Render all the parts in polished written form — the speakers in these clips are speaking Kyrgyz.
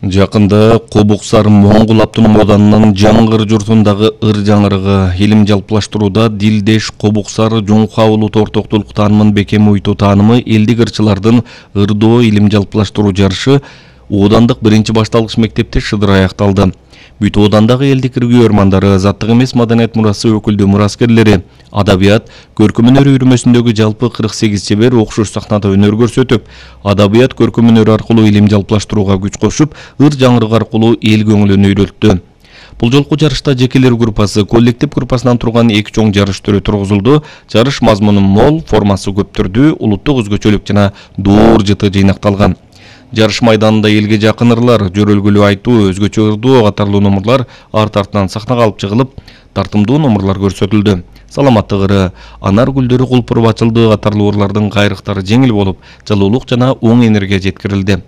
Жакында Кобуксар Моңгол автоном оданынын Жаңгыр журтундагы ыр жаңырыгы илим жалпылаштырууда Дилдеш Кобуксар Жуңха улут ортоктулук таанымын бекем уйтуу таанымы элдик ырчылардын ырдоо илим жалпылаштыруу жарышы Оодандык биринчи башталгыч мектепте шыдыр аякталды. Бүт Оодандагы элдик иргүү ормандары, заттык эмес маданият мурасы өкүлдүү мураскерлери, адабият, көркөм өнөр үйрөнмөсүндөгү жалпы 48 чебер окшош сахнада өнөр көрсөтүп, адабият көркөм өнөр аркылуу илим жалпылаштырууга күч кошуп, ыр жаңырыгы аркылуу эл көңүлүн үйрөлттү. Бул жолку жарышта жекелер группасы, коллектив группасынан турган эки чоң жарыш түрү тургузулду. Жарыш мазмуну мол, формасы көп түрдүү, улуттук өзгөчөлүк жана доор жыты жыйнакталган. Жарыш майданында элге жакын ырлар, жөрөлгүлүү айтуу, өзгөчө ырдоо катарлуу номурлар арт-артынан сахнага алып чыгылып, тартымдуу номурлар көрсөтүлдү. Саламаттык ыры, анар гүлдөрү кулпуруп ачылды катарлуу ырлардын кайрыктары жеңил болуп, жылуулук жана оң энергия жеткирилди.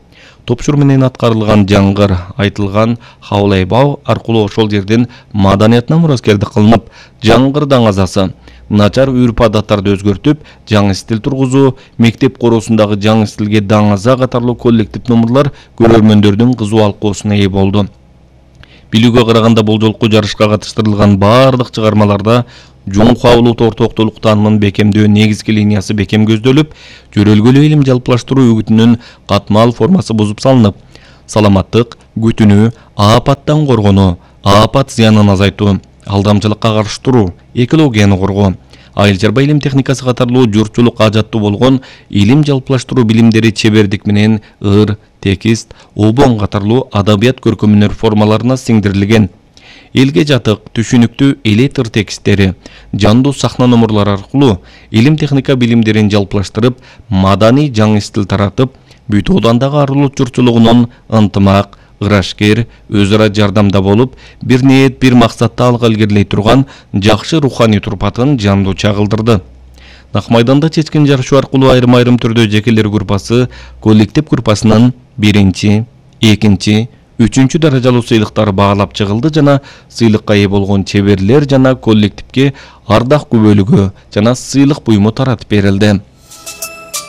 Топшур менен аткарылган жаңгыр, айтылган хаулайбау аркылуу ошол жерден маданиятына мураскердик кылынып, жаңгыр даңазасы, начар үрп адаттарды өзгөртүп, жаңы стиль тургузуу, мектеп короосундагы жаңы стилге даңаза катарлуу коллектив номурлар көрөрмөндөрдүн кызуу алкоосуна ээ болду. Билүүгө караганда бул жолку жарышка катыштырылган баардык чыгармаларда Жуңха улут ортоктулук таанымын бекемдөө негизги линиясы бекем көздөлүп, жөрөлгөлүү илим жалпылаштыруу үгүтүнүн катмал формасы бузуп салынып, саламаттык, күтүнүү, аапаттан коргонуу, аапат зыянын азайтуу, алдамчылыкка каршы туруу, экологияны коргоо, айыл чарба илим техникасы катарлуу журтчулук ажаттуу болгон илим жалпылаштыруу билимдери чебердик менен ыр, текст, обон катарлуу адабият көркөм өнөр формаларына сиңдирилген. Элге жатык, түшүнүктүү элетр тексттери, жандуу сахна номурлары аркылуу илим техника билимдерин жалпылаштырып, маданий жаңы стиль таратып, бүт Оодандагы арулут журтчулугунун ынтымак, ырашкер, өз ара жардамда болуп, бир ниет, бир максатты алга илгерилей турган жакшы руханий турпатын жандуу чагылдырды. Нак майданда чечкен жарышуу аркылуу айрым-айрым түрдө жекелер группасы, коллектив группасынын биринчи, экинчи, үчүнчү даражалуу сыйлыктары баалап чыгылды жана сыйлыкка ээ болгон чеберлер жана коллективге ардак күбөлүгү жана сыйлык буюму таратып берилди.